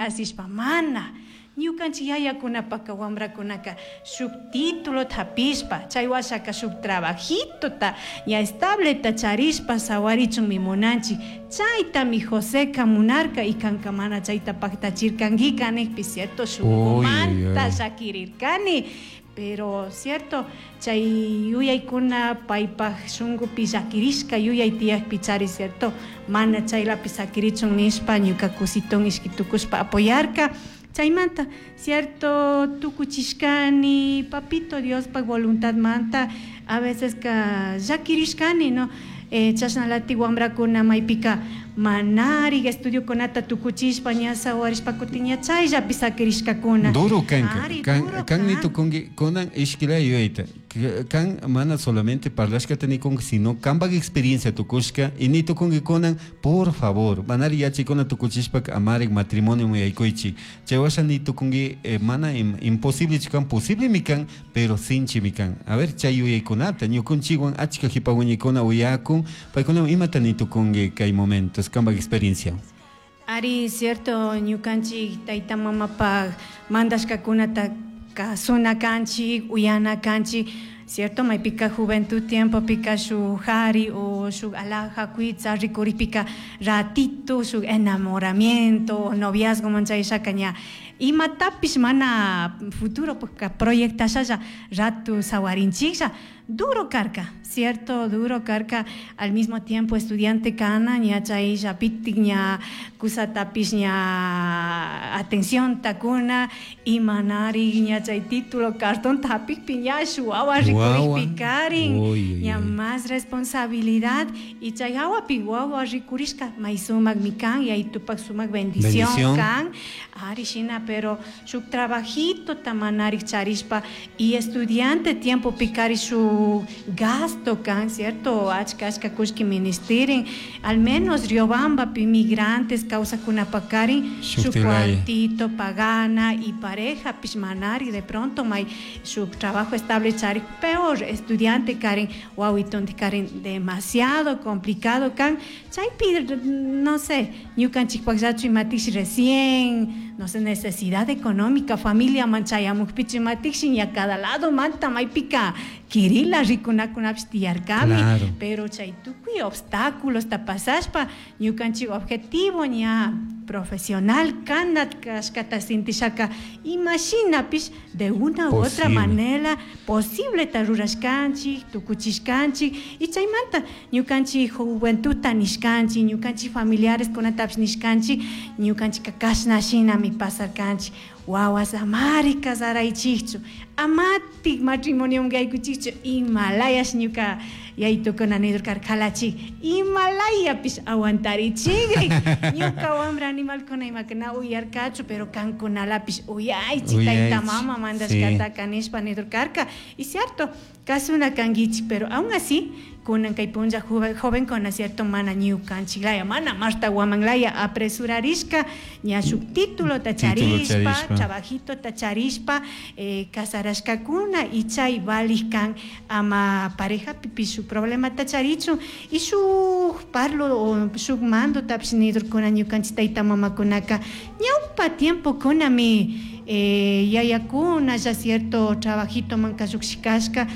Asishpa mana ñukanchik yayakunapaka wamrakunaka shuk titulota hapishpa chay washaka shuk trabajitota ña estableta charishpa sawarichunmi munanchik. Chaytami Joseca munarka y kanka mana chayta paktachirkankika nijpi, cierto, shunkumanta llakirirkani. Pero cierto, chay yuyaykuna paypaj shunkupi llakirishka yuyay tiyakpi chari, cierto, mana chaylapi sakirichun nishpa ñuka kusiton ishki tukushpa apoyarka. Chaymanta, cierto, tukuchishkani papito Diospaj voluntadmanta a veces ka llakirishkani, no, chashnalatik wambrakuna maypika manarik estudiokunata tukuchishpa ña sawarishpa kutin ña chayllapi sakirishkakuna. Duro kanka. Kan ni tukunki kunan ishkila yuyayta. Kan mana solamente parlashkata nikunki, sino kanpak experiencia tukushka y ni tukunki kunan, por favor, manari yachaykuna tukuchishpaka amarik matrimonio yaykuychik. Chay washa ni tukunki mana imposible kan, posiblemi kan, pero sinchimi kan. A ver, chay yuyaykunata ñukunchikwan achka jipa wiñaykuna uyakun, paykuna imata ni tukunki kay momentos, kanpak experiencia. Ari, cierto, ñukanchik tayta mamapaj mandashkakunata kasuna kanchik, uyana kanchik, cierto, maypika juventud tiempopika shuk jari o shuk alhaja kuytsa rikuripika ratito shuk enamoramiento o noviazgo manchayshaka ña imatapish mana futuro proyectashalla ratu sawarinchiklla. Duro karka, cierto, duro karka, al mismo tiempo estudiante kana ña chaylla pitik ña kusatapish ña atención takuna y manari ña chay título cartón hapikpi ña shuwawa rikurikpi karin, ña más responsabilidad y chay hawapi wawa rikurishka may sumakmi kan yaytupak sumak bendición kan, ari shina, pero shuk trabajito manarik charishpa y estudiante tiempo pikari shuk gasto kan, cierto, achka achka kullki ministerin, al menos Riobambapi migrantes kawsakunapakarin shuk cuartito pagana y pareja pish manari de pronto may shuk trabajo estable charik, peor estudiante karin wawitonti karin demasiado complicado kan, chaypi no sé, ñukanchikpakllachu imatish recién, no sé, necesidad económica, familia manchayamukpichu imatikshi ña cada lado manta maypika kirila rikunakunapish tiyarkami, pero chay tukuy obstáculos ta pasashpa ñukanchik objetivo ña profesional kana kashkata sintishaka imashinapish de una u otra manera posible ta rurashkanchik, tukuchishkanchik y chaymanta ñukanchik juventudta nishkanchik, ñukanchik familiares kunatapish nishkanchik, ñukanchikka kashna shinami pasarkanchik, wawas amari casaraychikchu, amatik matrimonioman yaykuchikchu, imalayash ñuka yaytukuna nidurkarka jalachik, imalayapish aguantarichikri, ñuka wambra animalkuna imaka na uyarkachu, pero kankunalapish uyaychik tayta mama mandashkataka nishpa nidurkarka, y cierto, kasuna kankichik, pero aún así kunan kay punlla jovenkuna cierto mana ñukanchiklaya, mana Marta Guamanlaya apresurarishka ña shuk titulota charishpa, trabajitota charishpa, casarashkakuna y chay valik kan ama parejapipish shuk problemata charichun y shuk parlo o shuk mandotapish nidurkuna ñukanchik tayta mamakunaka ñawpa tiempokunami yayakuna ya cierto trabajitoman llushikashka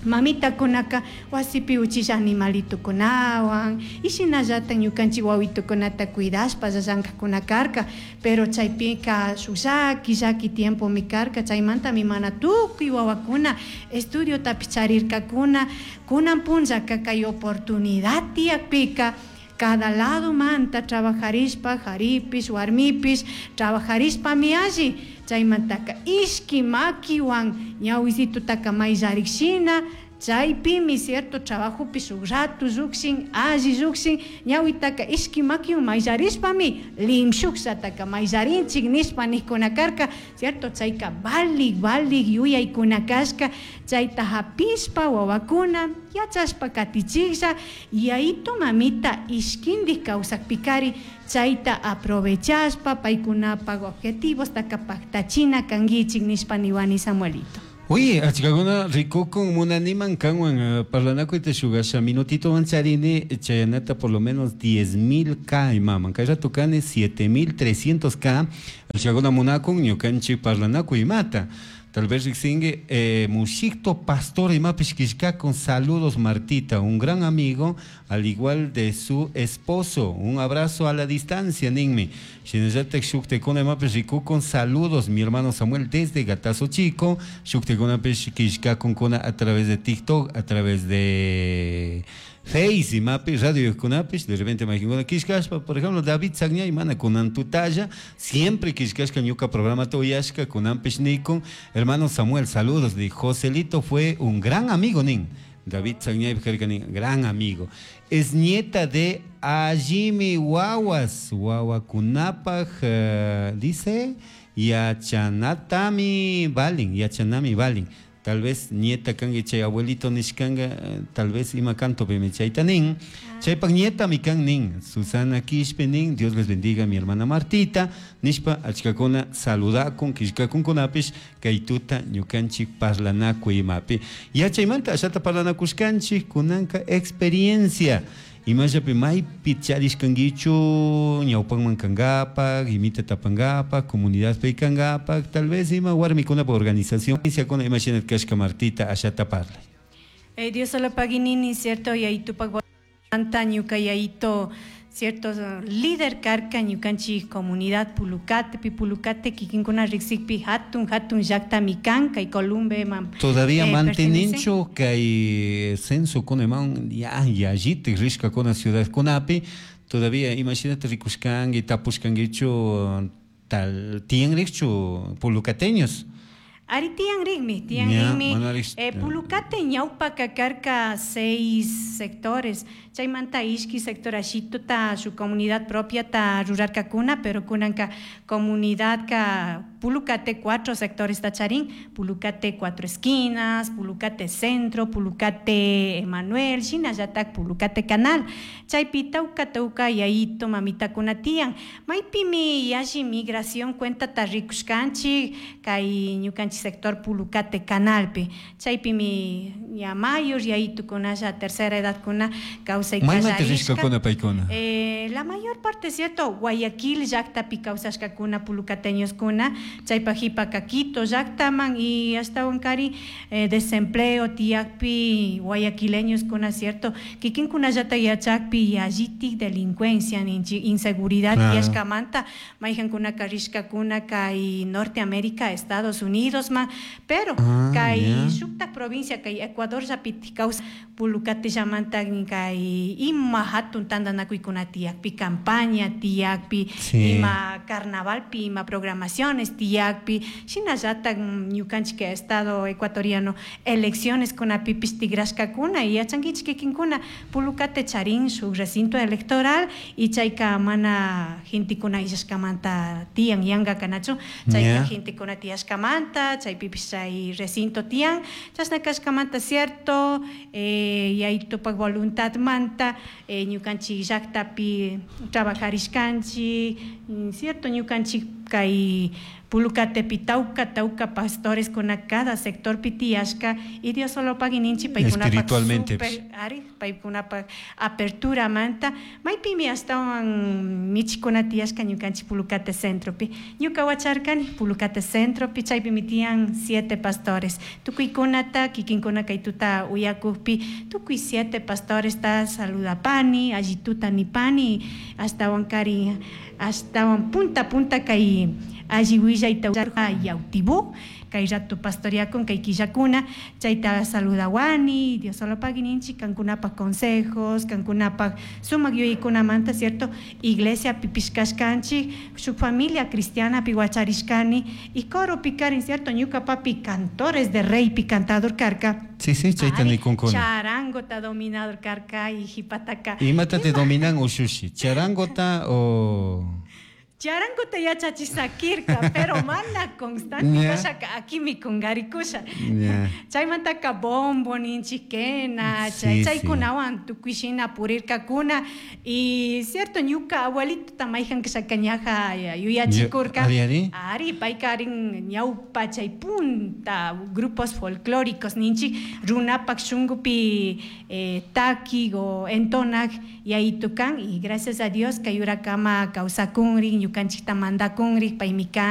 mamitakunaka wasipi uchilla animalitukunawan y shinallata ñukanchik wawitukunata cuidashpa llankakuna karka, pero chaypika shuk llaki llaki tiempomi karka, chaymantami mana tukuy wawakuna estudiotapish charirkakuna, kunan punllaka kay oportunidad tiyakpika cada lado manta trabajarishpa jaripish warmipish trabajarishpami alli, chaymantaka ishki makiwan ñawisitutaka mayllarikshina chaypimi cierto trabajopi shuk ratu llukshin alli llukshin ñawitaka ishki makiwan mayllarishpami limshukshataka mayllarinchik nishpa nijkuna karka, cierto, chayka valik valik yuyaykuna kashka, chayta hapishpa wawakuna yachashpa katichiklla yayito mamita ishkindik kawsakpikari chayta aprovechashpa paykunapak objetivostaka paktachina kankichik nishpa niwani Samuelito. Uy, achkakuna rikukun munaniman kanwan parlanakuyta shugasha minutitowan charini chayanata por lo menos 10.000 K imaman. Kay rato kani 7.300 K. Achkakuna munakun ñukanchik parlanakuy imata. Tal vez riksinki Mushikto Pastor imapish killkakun saludos Martita, un gran amigo, al igual de su esposo. Un abrazo a la distancia, ninmi. Shinallatak shuktikuna imapish rikukun saludos mi hermano Samuel desde Gatazo Chico. Shuktikunapish killkakunkuna a través de TikTok, a través de Face imapi, radio kunapish, de repente mayqinkuna killkashpa, por ejemplo, David Sagñay mana kunan tutalla, siempre killkashka ñuka programa uyashka kunanpish nikun. Hermano Samuel, saludos, di Joselito fue un gran amigo, nin. David Sagñay nin, gran amigo. Es nieta de Ayimi Wawas, Wawakunapaj, dice, Yachanatami Balin, Yachanami Balin. Tal vez nieta kanki chay abuelito nishkanga, tal vez ima canto pimi chayta nin. Chaypak nieta mi kan nin, Susana Quispe nin, Dios les bendiga mi hermana Martita, nishpa achkakuna saludakun, killkakunkunapish, kay tuta ñukanchik parlanakuy imapi. Yachaymanta ashata parlanakushkanchik kunanka experiencia. Imallapi maypi charishkankichu ñawpanman kankapak, imita tapankapak, comunidadpi kankapak, tal vez ima warmikunapa organización kuna imashina kashka Martita ashata parlay. Dios solo paginini, cierto, y ahí tupac ñuka yayito, cierto, líder karka ñukanchik comunidad Pulucate, pi Pulucate kikinkuna riksikpi hatun hatun llaqtami kan kay Columbe man. Todavía manteninchu kay censo kunaman ya yallitik rishkakuna ciudad kunapi, todavía imashinata rikushkanki tapushkankichu tal tiyanrikchu pulucateños. Ari tiyanrikmi, tiyanrikmi. Pulucate ñawpaka karka 6 sectores. Chaymanta ishki sector ashituta su comunidad propia ta rurarkakuna, pero kunanka comunidad ka Pulucate 4 sectores tacharín, Pulucate 4 esquinas, Pulucate centro, Pulucate Emanuel, shinallatak Pulucate canal. Chaypi tawka tawka yayito mamitakuna tiyan. Maypimi yalli migración cuenta ta rikushkanchik kay ñukanchik sector Pulucate canalpi. Chaypimi ya mayor yayitukunalla tercera edad kuna kawsay Maymanta rishkakuna paykuna? La mayor parte, cierto, Guayaquil llaqtapi kawsashkakuna pulucateñoskuna, chaypa jipaka Quito llaqtaman y ashtawan kari desempleo tiyakpi guayaquileñoskuna, cierto, kikinkunallata yachakpi yallitik delincuencia ninchik inseguridad tiyashkamanta mayqankunaka rishkakuna kay Norteamérica, Estados Unidos man, pero kay shuktak provincia kay Ecuador llapitik kawsa Pulucate llamanta kay ima hatun tantanakuykuna tiyakpi campaña tiyakpi ima carnavalpi ima programaciones tiyakpi shinallatak ñukanchik estado ecuatoriano elecciones kunapipish tigrashkakuna y yachankichik kikinkuna Pulucate charin shuk recinto electoral y chayka mana gentekuna illashkamanta tiyan yanka kanachu chayka gentekuna tiyashkamanta chaypipish chay recinto tiyan chashna kashkamanta cierto yaytupak voluntad manta ñukanchik llaqtapi trabajarishkanchik cierto ñukanchik kay Pulucatepi tawka tawka pastores kuna cada sector tiyashka y Dios solo pagininchi paykunapaq espiritualmente super ari paykunapaq apertura manta maypimi ashtawan michikuna tiyashka ñukanchik Pulucate centropi ñuka wacharkani Pulucate centropi chaypimi tiyan 7 pastores tukuykunata kikinkuna kay tuta uyakukpi tukuy 7 pastores ta saludapani allituta nipani ashtawan kari ashtawan punta punta kay alli willayta Yautibú kay rato pastoreakun kay killakuna chayta saludawani Dios solo pagininchik kankunapaq consejos kankunapaq sumaq yuyaykunamanta cierto iglesia pipishkashkanchik shuk familia cristiana pi wacharishkani y coro pikarin cierto ñuka papi cantores de rey pi cantador karka. Sí, sí, chayta nikunkuna. Charangota dominador karka y jipataka. Imata te dominan ushushi? Charangota o... Charanguta yachachisakirka, pero mana constante Ya. kashaka akimi kungarikusha. Ya. Chaymantaka bombo ninchik quena, chay Sí, chaykunawan tukuy shina purirkakuna y cierto ñuka abuelitota mayjan kashaka ñaja yuyachikurka. Ari, ari. Ari, payka arin ñawpa chay punta grupos folclóricos ninchik runapak shunkupi eh, taki o entonak yayitukan y gracias a Dios kay urakama kawsakunrik ñukanchikta mandakunrik paymi kan.